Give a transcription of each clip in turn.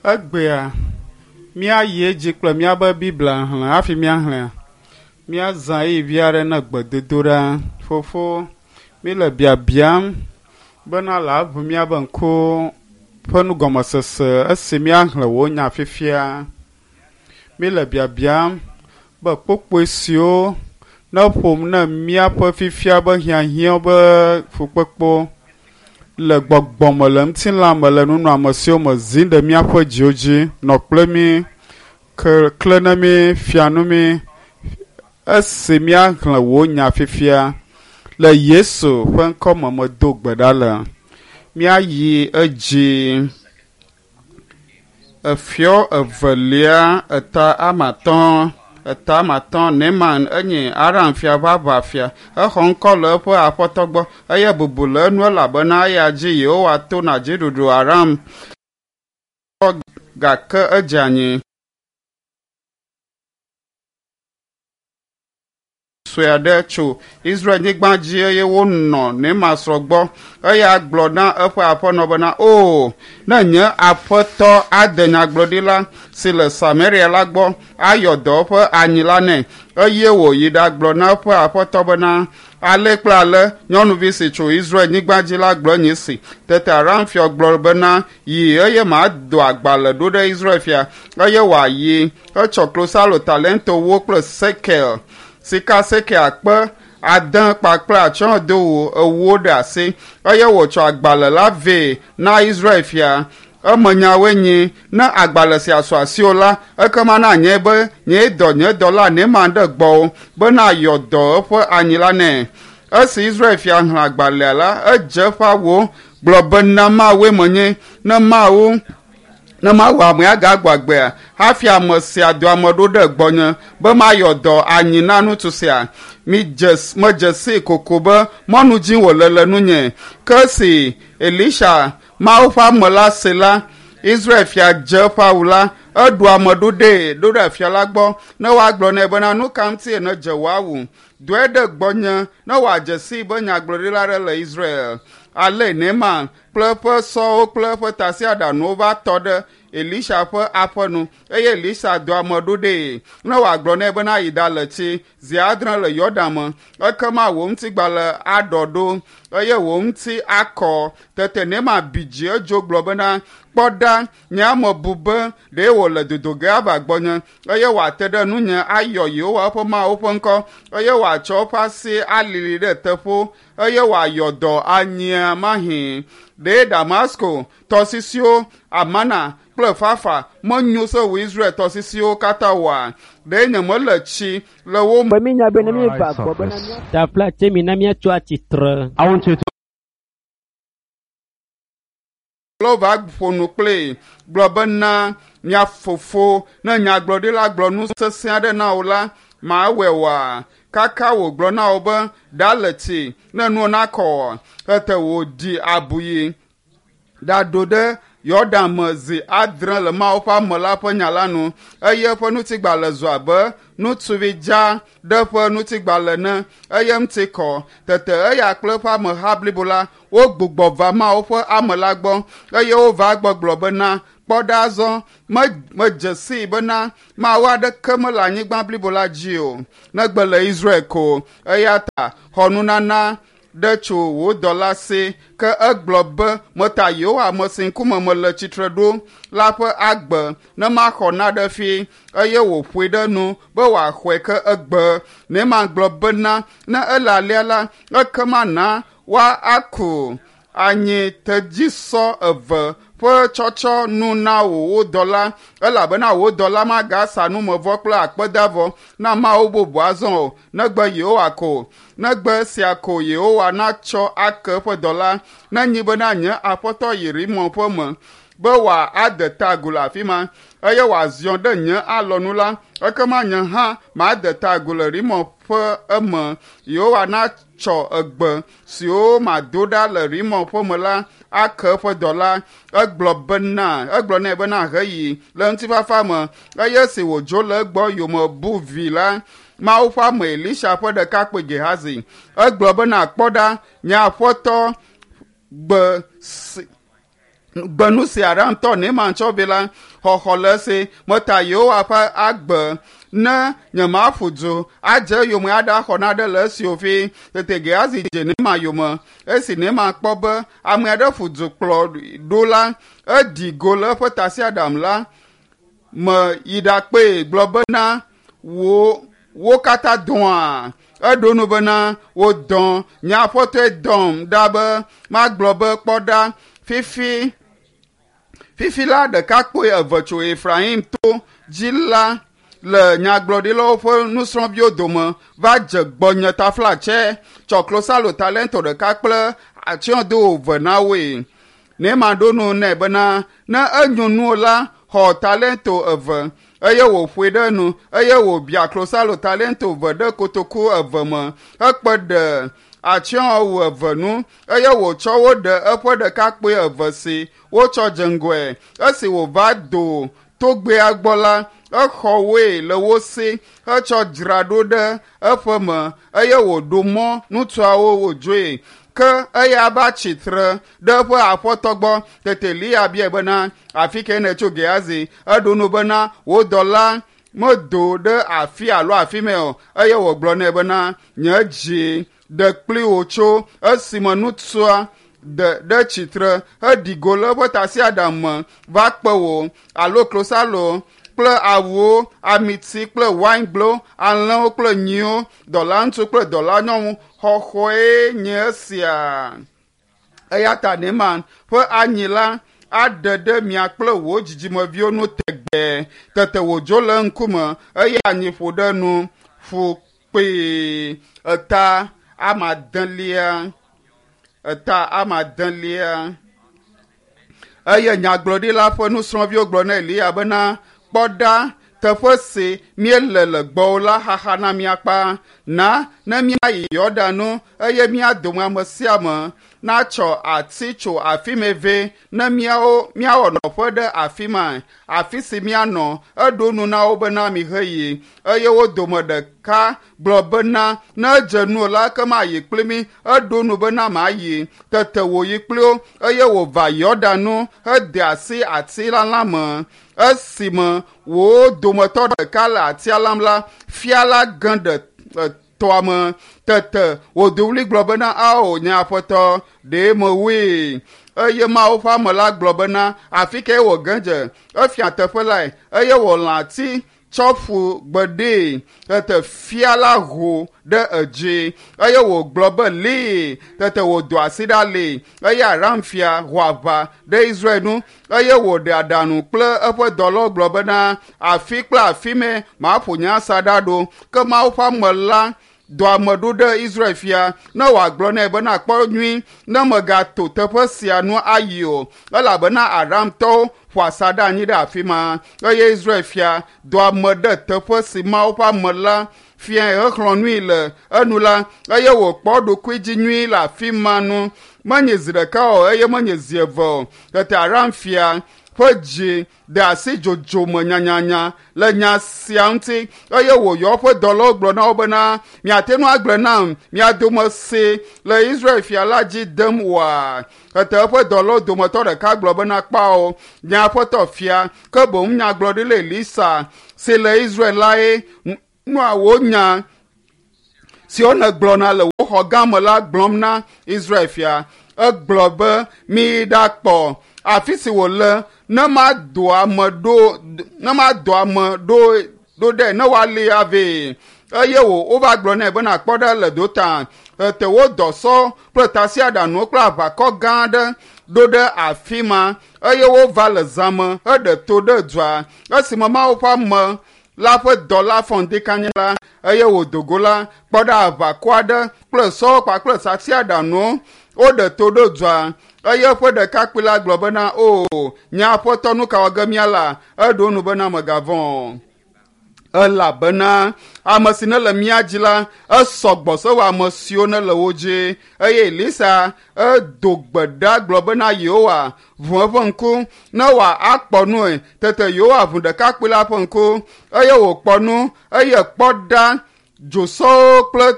Egbea míayi edzi kple míaƒe Biblia xlẽ hafi míaxlẽa, míazã ɣeyiɣi vi aɖe na gbedodoɖa. Fofo, míle biabiam bena le aʋu míaƒe ŋkuwo ƒe nugɔmesese esi míaxlẽ wò nya fifia. Míle biabiam be kpukpui siwo ne ƒom ne míaƒe fifia be hiahiã be fukpekpewo le gbɔgbɔme le ŋutilã me le nunɔamesiwo me zim ɖe míaƒe dziwo dzi nɔ kple mí ke kle ne mí fia nu mí esi míaxlẽ wò nya fifia le Yesu ƒe ŋkɔ me medo gbe ɖa le. Míayi edzi. Efiɔ evelia eta ame atɔ̃ eta ame atɔ̃ Neman enye Aram fia ƒe aʋafia. Exɔ ŋkɔ le eƒe aƒetɔ gbɔ eye bubu le enu elabena eya dzi Yehowa to na dziɖuɖu Aram gake edze anyi. Sue aɖe tso Israel-nyigba dzi eye wonɔ Neman srɔ̃ gbɔ. Eya gblɔ na eƒe aƒenɔ bena, "O, ne nye aƒetɔ ade nyagblɔɖila si le Samaria la gbɔ ayɔ dɔ eƒe anyi la nɛ." Eye wòyi ɖagblɔ na eƒe aƒetɔ bena, "Ale kple ale nyɔnuvi si tso Israel-nyigba dzi la gblɔ nye esi." Tete Aram fia gblɔ bena, "Yi eye mado agbalẽ ɖo ɖe Israel fia." Eye wòayi. Etsɔ klosalo talentowo kple sekel sika sekel akpe ade kpakple atsyɔ̃dowu ewo ɖe asi eye wòtsɔ agbalẽ la vɛ na Israel fia. Emenyawoe nyi, ne agbalẽ sia su asiwò la, ekema na nye be nyee dɔ nye dɔla Neman ɖe gbɔwò bena yɔ dɔ eƒe anyi la nɛ. Esi Israel fia xlẽ agbalẽa la, edze eƒe awuwo gblɔ bena Mawue menye, ne Mawu ne mawɔ ame agagbɔ agbea hafi ame sia do ame ɖo ɖe gbɔnye be mayɔ dɔ anyi na ŋutsu sia. Midze medze sii koko be mɔnu dzi wòle le nunye. Ke esi Elisha, Mawu ƒe ame la se la, Israel fia dze eƒe awu la, eɖo ame ɖo ɖee ɖo ɖe fia la gbɔ ne woagblɔ nɛ bena nu ka ŋutie nèdze wò awu? Dɔe ɖe gbɔnye ne wòadze sii be nyagblɔɖila aɖe le Israel. Ale Neman kple eƒe sɔwo kple eƒe tasiaɖamwo va tɔ ɖe Elisha ƒe aƒe nu eye Elisha dɔ ame ɖo ɖee ne wòagblɔ nɛ bena yi ɖale tsi zi adre le Yɔdan me ekema wò ŋutigbalẽ aɖɔ ɖo eye wò ŋuti akɔ. Tete Neman bi dzi edzo gblɔ bena, Kpɔ ɖa, nye ame bu be ɖe wòle dodo ge ava gbɔnye eye wòate ɖe nunye ayɔ Yehowa eƒe Mawu ƒe ŋkɔ eye wòatsɔ eƒe asi alili ɖe teƒewo eye wòayɔ dɔ anyia mahĩ. Ɖe Damasko tɔsisiwo, Amana kple Fafa menyo se wu Israel tɔsisiwo katã oa? Ɖe nyemele tsi le wo Be míenya be ne míeva gbɔ bena mía Tafla tse mina míatso atsitre. I want you to lɔ va ƒo nu kplii gblɔ bena mia fofo ne nyagblɔɖila gblɔ nu sesẽ aɖe na wò la mawɔe oa? Kaka wògblɔ na wò be ɖa le tsi ne nuwo nakɔ oa? Tete wòɖi abuyi ɖaɖo ɖe Yɔdan me zi adre le Mawu ƒe ame la ƒe nya la nu eye eƒe ŋutigbalẽ zu abe ŋutsuvi dza ɖe eƒe ŋutigbalẽ ene eye ŋuti kɔ. Tete eya kple eƒe ameha blibo la wogbugbɔ va Mawu ƒe ame la gbɔ eye wova egbɔ gblɔ bena, Kpɔ ɖa azɔ, me medze sii bena Mawu aɖeke mele anyigba blibo la dzi o, negbe le Israel ko. Eya ta xɔ nunana ɖe tso wò dɔla si. Ke egblɔ be, Meta Yehowa ame si ŋkume mele tsitre ɖo la ƒe agbe ne maxɔ naɖe fi. Eye wòƒoe ɖe nu be wòaxɔe ke egbe. Neman gblɔ bena, Ne ele alea la, ekema na woaku anyi tedzisɔ eve ƒe tsɔtsɔ nu na wò wò dɔla elabena wò dɔla magasa numevɔ kple akpedavɔ na Mawu bubu azɔ o, negbe Yehowa ko. Negbe esia ko Yehowa natsɔ ake eƒe dɔla, nenyi bena nye aƒetɔ yi Rimon ƒe me be wòade ta agu le afi ma eye wòaziɔ ɖe nye alɔnu la, ekema nye hã made ta agu le Rimon ƒe eme. Yehowa natsɔ egbe siwo mado ɖa le Rimon ƒe me la ake eƒe dɔla. Egblɔ bena egblɔ nɛ bena heyi le ŋutifafa me eye esi wòdzo le egbɔ yome bu vi la, Mawu ƒe ame Elisha ƒe ɖekakpui Gehazi. Egblɔ bena, Kpɔ ɖa, nye aƒetɔ gbe si Gbenu si Aramtɔ Neman tsɔ vɛ la, xɔxɔ le esi meta Yehowa ƒe agbe ne nyemaƒu du adze eyome aɖaxɔ naɖe le esi o fi. Tete Gehazi dze Neman yome. Esi Neman kpɔ be ame aɖe ƒu du kplɔ ɖo la, eɖi go le eƒe tasiaɖam la me yi ɖakpee gblɔ bena wo wo katã dɔa. Eɖo nu bena wodɔ nye aƒetɔe dɔm ɖa be magblɔ be kpɔ ɖa fifi fifi la ɖekakpui eve tso Efraim to dzi la le nyagblɔɖilawo ƒe nusrɔ̃viwo dome va dze gbɔnye taflatsɛ tsɔ klosalo talento ɖeka kple atsyɔ̃do eve na woe. Neman ɖo nu nɛ bena ne enyo nuwò la xɔ talento eve eye wòƒoe ɖe enu eye wòbia klosalo talento eve ɖe kotoku eve me hekpe ɖe atsyɔ̃wu eve nu eye wòtsɔ wo ɖe eƒe ɖekakpui eve si wotsɔ dze ŋgɔe. Esi wòva do togbɛa gbɔ la, exɔ woe le wo si hetsɔ dzra ɖo ɖe eƒe me eye wòɖo mɔ ŋutsuawo wòdzoe. Ke eya va tsi tre ɖe eƒe aƒetɔ gbɔ. Tete Eliya biae bena, “Afi kae nètso Gehazi?” Eɖo nu bena, “Wò dɔla medo ɖe afi alo afi mɛ o.” Eye wògblɔ nɛ bena, “Nye dzi ɖe kpli wò tso esime ŋutsua de ɖe tsitre heɖi go le eƒe tasiaɖam me va kpe wò alo klosalo kple awuwo, amiti kple waingblewo, alẽwo kple nyiwo, dɔlaŋutsu kple dɔlanyɔnu xɔxɔe nye esia. Eya ta Neman ƒe anyi la aɖe ɖe mia kple wò dzidzimeviwo nu tegbee. Tete wòdzo le eŋkume eye anyi ƒo ɖe enu ƒu kpee. Eta ame adelia eta ame adelia. Eye nyagblɔɖila ƒe nusrɔ̃viwo gblɔ na Eliya bena, “Kpɔ ɖa, teƒe si míele le gbɔwò la xaxa na mí akpa. Na ne míayi Yɔdan nu eye mía dome ame sia ame natsɔ ati tso afi mɛ vɛ ne míawo míawɔ nɔƒe ɖe afi ma, afi si míanɔ.” Eɖo nu na wo bena, “Miheyi.” Eye wo dome ɖeka gblɔ bena, “Ne edze nuwò la, ekema yi kpli mí.” Eɖo nu bena, “Mayi.” Tete wòyi kpli wo eye wòva Yɔdan nu hede asi ati la me. Esime wo dometɔ ɖeka le atia lam la, fia la ge ɖe tɔa me. Tete wòdo ɣli gblɔ bena, “Ao, nye aƒetɔ, ɖe mewui.” Eye Mawu ƒe ame la gblɔ bena, “Afi kae wòge dze?” Efia teƒe lae eye wòlã ati tsɔ ƒu gbe ɖee. Tete fia la ho ɖe edzi eye wògblɔ be, “Lée!” Tete wòdo asi ɖa lée eye Aram fia ho aʋa ɖe Israel nu eye wòɖe aɖaŋu kple eƒe dɔlawo gblɔ bena, “Afi kple afi mɛ maƒo nye asaɖa ɖo.” Ke Mawu ƒe ame la dɔ ame ɖo ɖe Israel fia ne wòagblɔ nɛ bena, “Kpɔ nyuie ne mègato teƒe sia nu ayi o, elabena Aramtɔwo ƒo asaɖa anyi ɖe afi ma.” Eye Israel fia dɔ ame ɖe teƒe si Mawu ƒe ame la fiae hexlɔ̃ nui le enu la, eye wòkpɔ eɖokui dzi nyuie le afi ma nu. Menye zi ɖeka o eye menye zi eve o. Tete Aram fia ƒe dzi de asi dzodzo me nyanyanya le nya sia ŋuti eye wòyɔ eƒe dɔlawo gblɔ na wo bena, “Miate ŋu agblɔe nam mia dome si le Israel fia la dzi dem oa?” Tete eƒe dɔlawo dometɔ ɖeka gblɔ bena, “Kpao, nye aƒetɔ fia, ke boŋ nyagblɔɖila Elisa si le Israel lae nɔa wò nya siwo nègblɔna le wò xɔ gã me la gblɔm na Israel fia. Egblɔ be, ‘Miyi ɖakpɔ afi si wòle ne madɔ ame ɖo ne madɔ ame ɖo ɖo ɖe ne woalée avɛ.’ Eye wò wova gblɔ nɛ bena, ‘Kpɔ ɖa le Dotan.’ Tete wodɔ sɔ kple tasiaɖamwo kple aʋakɔ gã aɖe ɖo ɖe afi ma eye wova le zã me heɖe to ɖe dua. Esime Mawu ƒe ame la ƒe dɔla fɔ ŋdi kanya la eye wòdo go la, kpɔ ɖa aʋakɔ aɖe kple sɔwo kpakple tasiaɖamwo woɖe to ɖo dua. Eye eƒe ɖekakpui la gblɔ bena, “O, nye aƒetɔ, nu ka wɔ ge míala?” Eɖo nu bena, “Mègavɔ̃ o, elabena ame si nele mía dzi la, esɔ gbɔ sewu ame siwo nele wo dzi.” Eye Elisa edo gbe ɖa gblɔ bena, “Yehowa, ʋu eƒe ŋku ne wòakpɔ nue.” Tete Yehowa ʋu ɖekakpui la ƒe ŋku eye wòkpɔ nu eye kpɔ ɖa dzosɔwo kple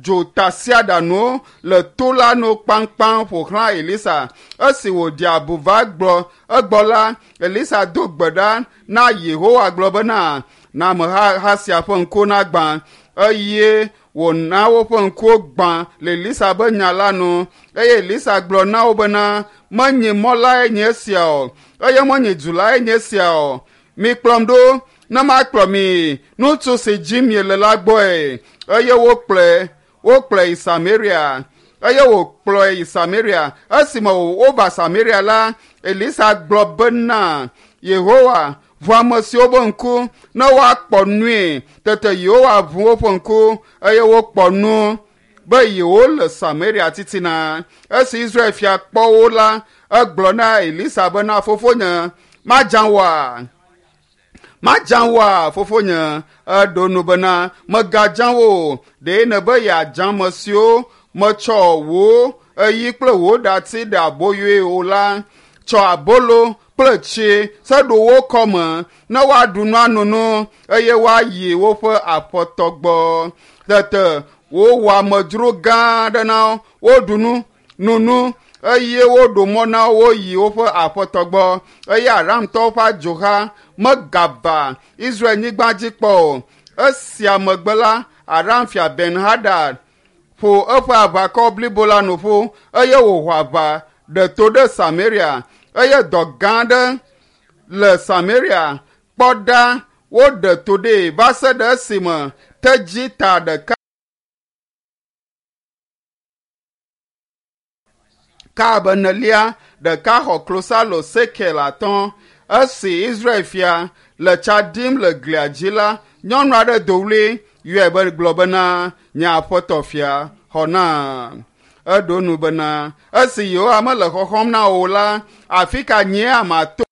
Dzotasiaɖanuwo le to la nu kpaŋkpaŋ ƒo xlã Elisa. Esi wòɖi abu va gblɔ egbɔ la, Elisa do gbe ɖa na Yehowa gblɔ bena, na ameha sia ƒe ŋkuwo nagbã. Eye wòna woƒe ŋkuwo gbã le Elisa ƒe nya la nu. Eye Elisa gblɔ na wo bena, menye mɔ lae nye esia o, eye menye du lae nye esia o. Mikplɔm ɖo ne makplɔ mi ŋutsu si dzi miele la gbɔe. Eye wokplɔe wokplɔe yi Samaria. Eye wòkplɔe yi Samaria. Esime wova Samaria la, Elisa gblɔ bena, Yehowa, ʋu ame siwo ƒe ŋku ne woakpɔ nui. Tete Yehowa ʋu woƒe ŋku eye wokpɔ nu be yewole Samaria titina. Esi Israel fia kpɔ wo la, egblɔ na Elisa bena, fofonye, madza wòa? Madza wòa, fofonye? Eɖo nu bena, megadza wo o. Ɖe nèbe yeadza ame siwo metsɔ wò eyi kple wò ɖati ɖe aboyoe o la? Tsɔ abolo kple tsi se ɖo wo kɔme ne woaɖu nu ano nu eye woayi woƒe aƒetɔ gbɔ. Tete wowɔ amedzro gã aɖe na wo, woɖu nu, no nu eye woɖo mɔ na wo woyi woƒe aƒetɔ gbɔ. Eye Aramtɔwo ƒe adzoha megava Israel-nyigba dzi kpɔ o. Esia megbe la, Aram fia Ben Hadad ƒo eƒe aʋakɔ blibo la nu ƒu eye wòho aʋa ɖe to ɖe Samaria eye dɔ gã aɖe le Samaria. Kpɔ ɖa, woɖe to ɖee va se ɖe esime tedzi ta ɖeka ka abe enelia ɖeka xɔ klosalo sekel atɔ̃. Esi Israel fia le tsa ɖim le glia dzi la, nyɔnu aɖe do ɣli yɔe be gblɔ bena, nye aƒetɔ fia, xɔ na. Eɖo nu bena, esi Yehowa mele xɔxɔm na wò la, afi ka nyea mato?